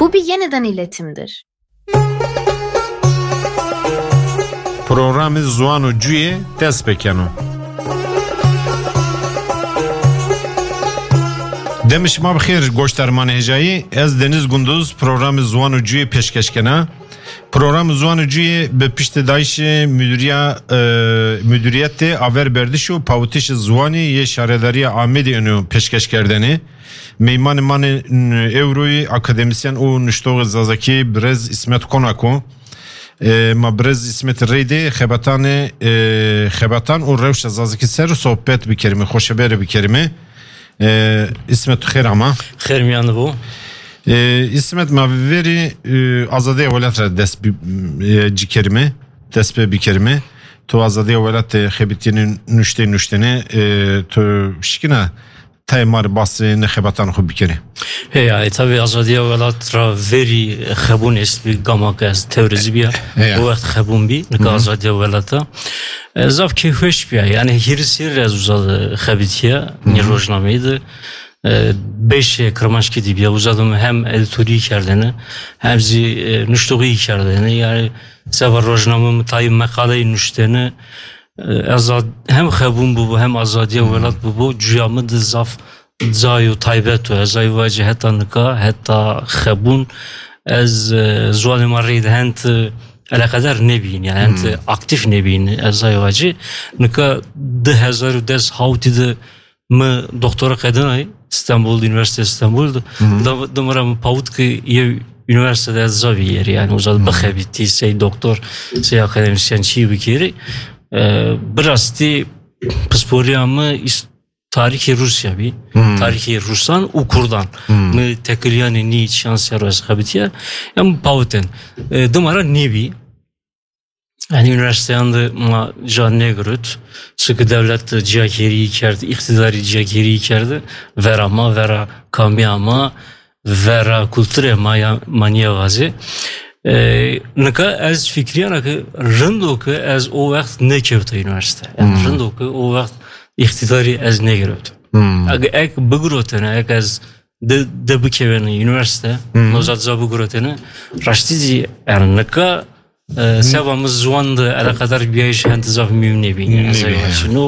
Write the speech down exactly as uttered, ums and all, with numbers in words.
Bu bir yeniden iletimdir. Programê Ziwan û Cuyê dest pê keno. Demê şima bi xêr, goşdarmanê hêjayî. Ez Deniz Gunduz, programê Ziwan û Cuyê pêşkeş kena. Programê Ziwan û Cuyê bi piştdayîşê Müdiriya, e, Müdüriyetê Averberdiş û Pawitişê Ziwanî yê Şaredariya Amêdê êno pêşkeş kerdene. Meymanê ma ê ewroyî akademisyen û nuştoxê zazakî birêz Îsmet Konak o. E, ma birêz Îsmet reyde xebetanê, e, xebetan û rewşa zazakî ser sohbet bikerime, xoşebere bikerime. E, Îsmet, tu xêr ama. Xêr miyan bo. E, Îsmet, ma verî, e, azadiya welat re dest bi, e, cikerime, dest pê bikerime. Tu azadiya welat, e, xebitînê nuştê nuştene, e, tu şikina tayê ma re basê ne xebatan xwe bikerê. He ya, e, tabii azadiya welat ra verî xebûn est bi gama ke ez tewrezî biya. He ya. O wext xebûn bî, nika Hı hı. azadiya welata. E, zaf keyfweş biya. Yani hîris hîr ez uza de xebitiya, Hı hı. nî rojnameyî de. E, beşê Kirmanckî dî biya. Uza de hem editorî kerdene, hem zî, e, nuştoxî kerdene. Yani seba rojname mi tayî meqaleyî nuştene. E, ez hem xebûn bûbû, hem azadiya Hı. welat bûbû, cuya min de zaf cayê taybet o. Ez ay vacî heta nika, heta xebûn, ez, e, ziwanê ma reyde hent, e, eleqedar nebîn, yani hent, Hmm. e, aktif nebîn, ez ay vacî. Nika du hezar û des hawtî de mi doktora qedinay, Stenbul, Üniversite Stenbul de. Hmm. Da, da mi ra mi pawit ki yê üniversitede ez zavî yerî, yani uza de Hmm. bixebitî, sey doktor, sey akademisyen çî bikerî. E, birastî pisporiya mi îs-, tarîxê Rûsya bî. Hmm. Tarîxê Rûsan û Kurdan. Hmm. Mi tekiliyanê nî şans ya ez xebitiye. Em pawitên. E, dimara nêbî. Yani üniversiteyan de ma ca negirot. Çunke dewlet ciyakêrî kerd, îqtîdarî ciyakêrî kerde. Vera ma, vera kamiya ma, vera kulturê ma ya, ma niye vazê. E, nika ez fikriyana ke rindo ke ez o wext nekevta üniversite. Yani Hmm. rindo ke o wext îqtîdarî ez negirot. Hmm. Ege ek bigirotene, ek ez de, de bikevene üniversite, Hmm. nozat za bigirotene, raştî zî, yani nika, e, seba mi ziwan de eleqedar biyayîş hent zaf mîm nebî. Nebî, ez he. Şino,